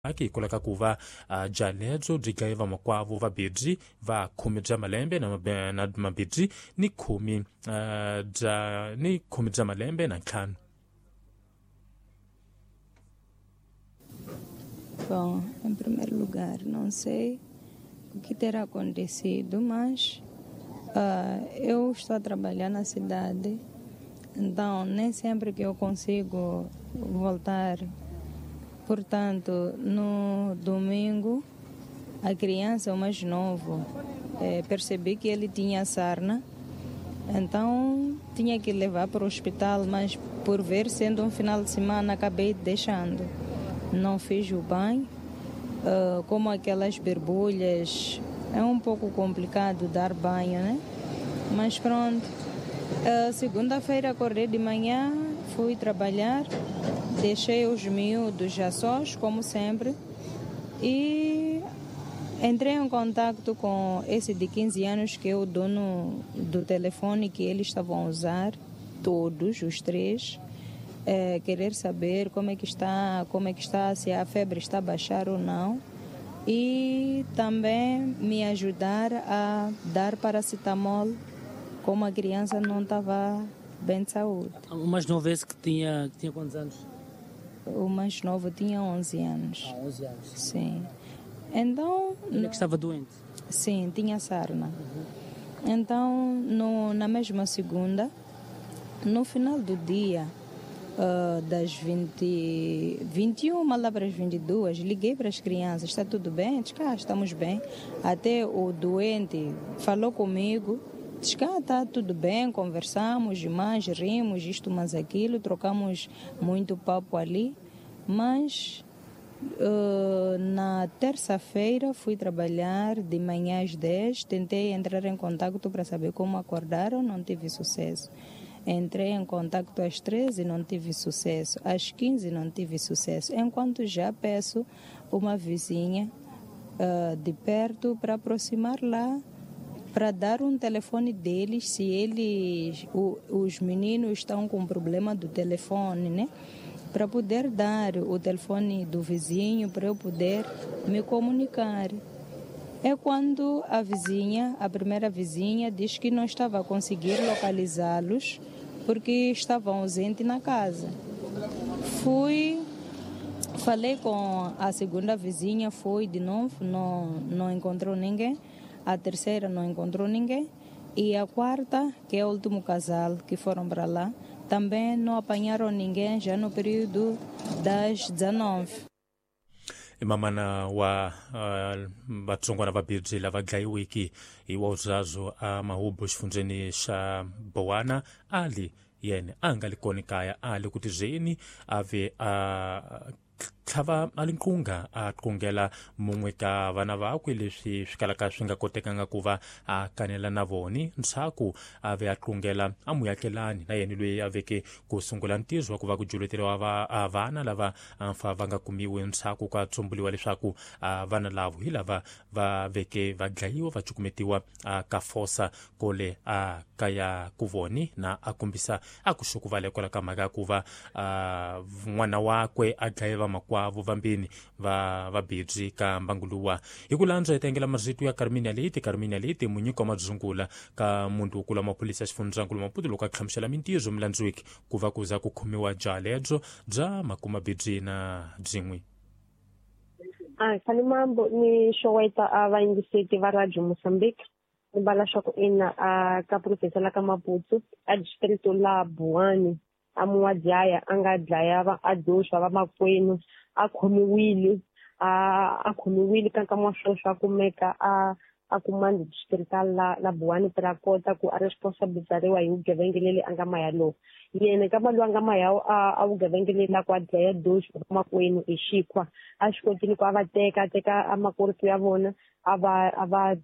Hikwalaho ka ku va byalebyo byi dlaye vamakwavo vabebyi va khume bya malembe na mabebyi ni khume bya ni khume bya malembe na ntlhanu. Bom, em primeiro lugar, não sei o que terá acontecido, mas eu estou a trabalhar na cidade, então nem sempre que eu consigo voltar. Portanto, no domingo, a criança, o mais novo, percebi que ele tinha sarna, então tinha que levar para o hospital, mas por ver sendo um final de semana, acabei deixando. Não fiz o banho, como aquelas borbulhas, é um pouco complicado dar banho, né? Mas pronto, segunda-feira acordei de manhã, fui trabalhar, deixei os miúdos já sós, como sempre, e entrei em contato com esse de 15 anos, que é o dono do telefone que eles estavam a usar, todos os três, querer saber como é que está, se a febre está a baixar ou não, e também me ajudar a dar paracetamol, como a criança não estava bem de saúde. O mais novo esse que tinha quantos anos? O mais novo tinha 11 anos. Ah, 11 anos. Sim. Então... Ele que estava doente? Sim, tinha sarna. Uhum. Então, na mesma segunda, no final do dia, das 21 lá para as 22, liguei para as crianças, está tudo bem? Diz cá, estamos bem. Até o doente falou comigo, diz cá, está tudo bem, conversamos mais, rimos, isto mais aquilo, trocamos muito papo ali, mas na terça-feira fui trabalhar de manhã às 10, tentei entrar em contato para saber como acordaram, não tive sucesso. Entrei em contato às 13, não tive sucesso. Às 15, não tive sucesso. Enquanto já peço uma vizinha de perto para aproximar lá, para dar um telefone deles, se eles, os meninos estão com problema do telefone, né? Para poder dar o telefone do vizinho, para eu poder me comunicar. É quando a vizinha, a primeira vizinha, diz que não estava a conseguir localizá-los porque estavam ausentes na casa. Fui, falei com a segunda vizinha, foi de novo, não encontrou ninguém. A terceira não encontrou ninguém. E a quarta, que é o último casal que foram para lá, também não apanharam ninguém já no período das 19. Mamana wa vatsongwana vabirhi lava dlayiweke hi wauzazwo a mahubu xifundzheni xa Bowana ali yena a nga li kona kaya a li ku tizeni a ve a tlhava a linqunga a qungela mun'we ka vana vakwe leswi swi kalaka swi nga kotekanga ku va a kanela na voni ntshaku a ve a qungela a muyakelani na yena loyi a veke ku sungula ntirho wa ku va ku juluteriwa vana lava fa va nga kumiwi ntshaku ka tsumbuliwa leswaku vana lavo hi lava va veke va dlayiwa va cukumetiwa ka fosa kole a kaya ku voni na a kombisa a ku xukuvala hikwalaho ka mhaka ya ku va n'wana wakwe a dlaye vamakwavo vambini va vabirhi ka mbangu luwa. Hi ku landza hi tengela marito ya Carmina Leite munyiki wa madzungula ka muntu wo kula maphorisa ya xifundzankulu Maputo loko a hlamusela mintirho milandzwiki ku va ku za ku khomiwa byalebyo bya makumabirhi na byin'we. Khani mambo ni xoweta a vayingiseti va Radio Mozambique ni vala swa ku ina a ka province la ka Maputo a district la Buwani a muwadlaya a nga dlaya va a doxa va makwenu a khomiwile a khomiwile ka nkama wa sweswo a kumeka a kumanda distrital la Buwani para kota ku a responsabilizariwa hi vugevenga leli a nga maya lowu yena nkama lowu a nga maya a vugevenga leli la ku a dlaya doxa va makwenu hi xikhwa a swi kotile ku a va teka a teka a makorito ya vona a va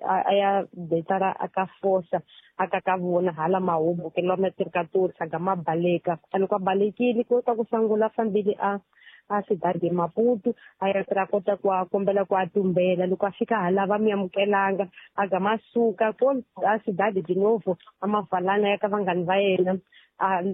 a ya betara a ka fosa a ka ka vona hala mahubu ke lwa matirikatori saga ma baleka a loko a balekile ko ta ku sangula fambile a cidade Maputo a ya ra kota ku a kombela ku a tumbela loko a fika hala va mi amukelanga a gama suka ko a cidade de novo a mavalana ya ka vanghani va yena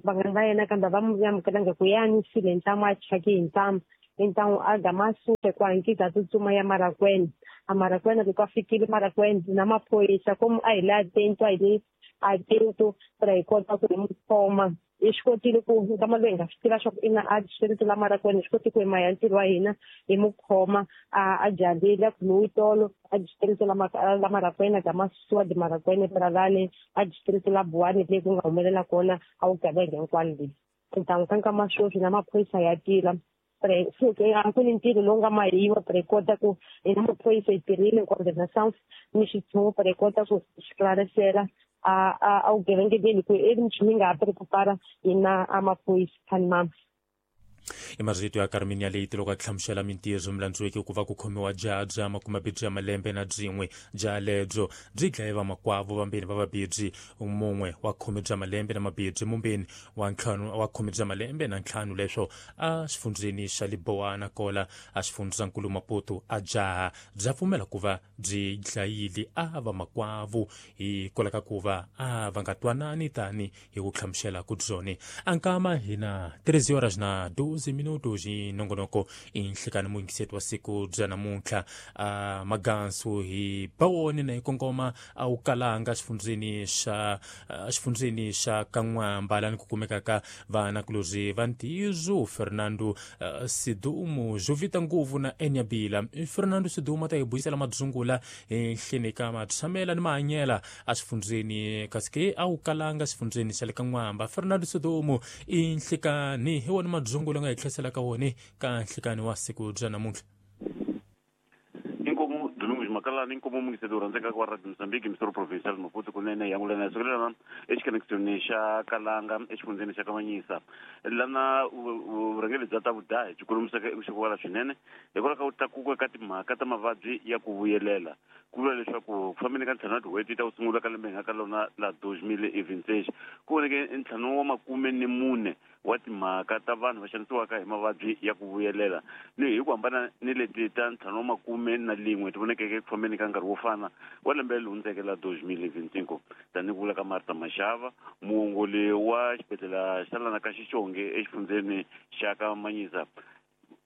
vanghani va yena kambe va mi amukelanga ku yani sile ntamu a chaki hi ntamu. Então a gama suke ku ankiza tsutsuma ya Marakwena. A Marakwena loko a fikile Marakwena na maphorisa komu a hi le atento a hi le atento para hi kota ku hi mu khoma. Hi swi kotile ku nkama lowu hi nga swi tiva swa ku ina a distrito la Marakwena, hi swi koti ku hi maya ntirho wa hina hi mu khoma a jalile a khomiwe tolo a distrito la Marakwena gama susiwa di Marakwena para lani a distrito la Buwani leyi ku nga humelela kona a vugevenga hinkwalo leyi. Então ka nkama sweswi na maphorisa ya tila a ku ni ntirho lowu nga mahiwa para hi kota ku hina maphorisa hi tirhile coordenação ni xitshungu para hi kota ku esclarecer a vugevenga leli ku e nchumu yi nga ha preocupara hina a maphorisa mama. I marito ya Carminia Leite loko a hlamusela mintirho milandzweke ku va ku khomiwa jaha bya makumabirhi ya malembe na byin'we. Jaha lebyo byi dlaye vamakwavo vambirhi va vabirhi, mun'we wa khume bya malembe na mabirhi, mumbeni wa ntlhanu wa khume bya malembe na ntlhanu, leswo a xifundzeni xa Libowana kola a xifundzankulu Maputo. A jaha bya pfumela ku va byi dlayile a vamakwavo hikwalaho ka ku va a va nga twanani tani hi ku hlamusela ku byone. Ankama hina 13 horas na 12 minutos hi nongonoko i nhlikani muyingiseti wa siku bya namuntlha. A magansu hi bawoni na hi kongoma a wu kalanga xifundzeni xa Kan'wamba lani ku kumekaka vanakulorhi va ntiyiso Fernando Sidumo Jovita Nguvu na Enyabila. Fernando Sidumo a ta hi buyisela madzungula enhleni ka matshamela ni mahanyela a xifundzeni kasi ke a wu kalanga xifundzeni xa le Kan'wamba. Fernando Sidumo i nhlikani hi wona madzungula nga hi tlheselaka wona ka nhlikani wa siku bya namuntlha. Inkomu Domingos Makalani, inkomu mungiseti wu rhandzekaka wa Radio Mozambique, Misoro Provincial Maputo kunene yangulana sukelana exikonekisoni xa Kalanga exifundzeni xa Kamanyisa lana vurhangeri bya ta vudahi byi kolomiseka eku swinene hikwalaho ka ku tlakuka ka timhaka ta mavabyi ya ku vuyelela. Ku vula leswaku ku fambeni ka ntlhanu wa tin'hweti ta ku sungula ka lembe hi nga ka lona la 2026 ku voneke ntlhanu wa makume ni mune wa timhaka ta vanhu va xanisiwaka hi mavabyi ya ku vuyelela, ni hi ku hambana ni leti ta ntlhanu wa makume na lin'we ti vonekeke eku fambeni ka nkarhi wo fana wa lembe leri hundzeke la 2025. Tanihi ku vula ka Martha Mashava, muongoli wa xibedhlele xa lana ka Xixonge exifundzeni xa ka Manyisa,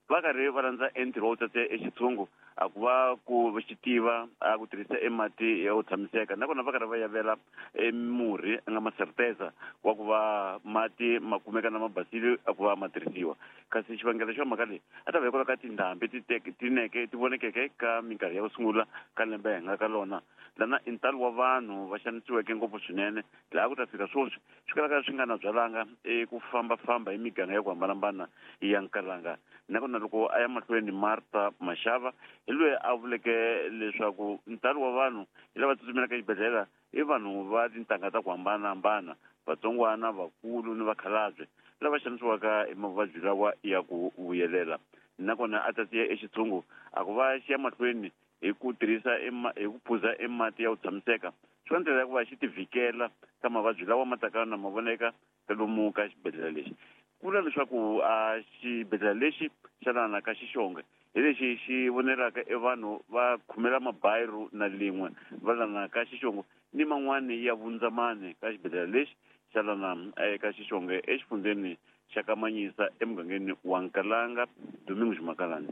va karhi va landza entirho wa ku tsatsa exitshungu a ku va ku xi tiva a ku tirhisa emati ya ku tshamiseka, nakona va karhi va yavela emurhi a nga maserteza wa ku va mati ma kumeka na mabasile a ku va ma tirhisiwa. Kasi xivangelo xa mhaka leyi a ta va hikwalaho ka tindhambi tineke ti vonekeke ka minkarhi ya ku sungula ka lembe hi nga ka lona lana i ntalo wa vanhu va xanisiweke ngopfu swinene laha ku ta fika sweswi swi kalaka swi nga na byalanga eku fambafamba hi miganga ya ku hambanahambana ya Nkalanga. Nakona loko a ya mahlweni Martha Mashava hi loyi a vuleke leswaku ntalo wa vanhu hi lava tsutsumelaka exibedhlele i vanhu va tintangha ta ku hambanahambana, vatsongwana, vakulu ni vakhalabye lava xanisiwaka hi mavabyi lawa ya ku vuyelela. Nakona a tatiya exitshungu a ku va xi ya mahlweni hi ku tirhisa hi ku phuza emati ya ku tshamiseka swi va ndlela ya ku va xi ti vhikela ka mavabyi lawa ma taka na ma voneka ka lomu ka xibedhlele lexi. Ku vula leswaku a xibedhlele lexi xa lana ka Xixonge hi lexi xi vonelaka e vanhu va khumela mabayiru na lin'we va lana ka Xixongo ni man'wani ya vundzamani ka xibedhlele lexi xa lana eka Xixonge exifundzeni xa Kamanyisa emugangeni wa Nkalanga. Domingos Makalani.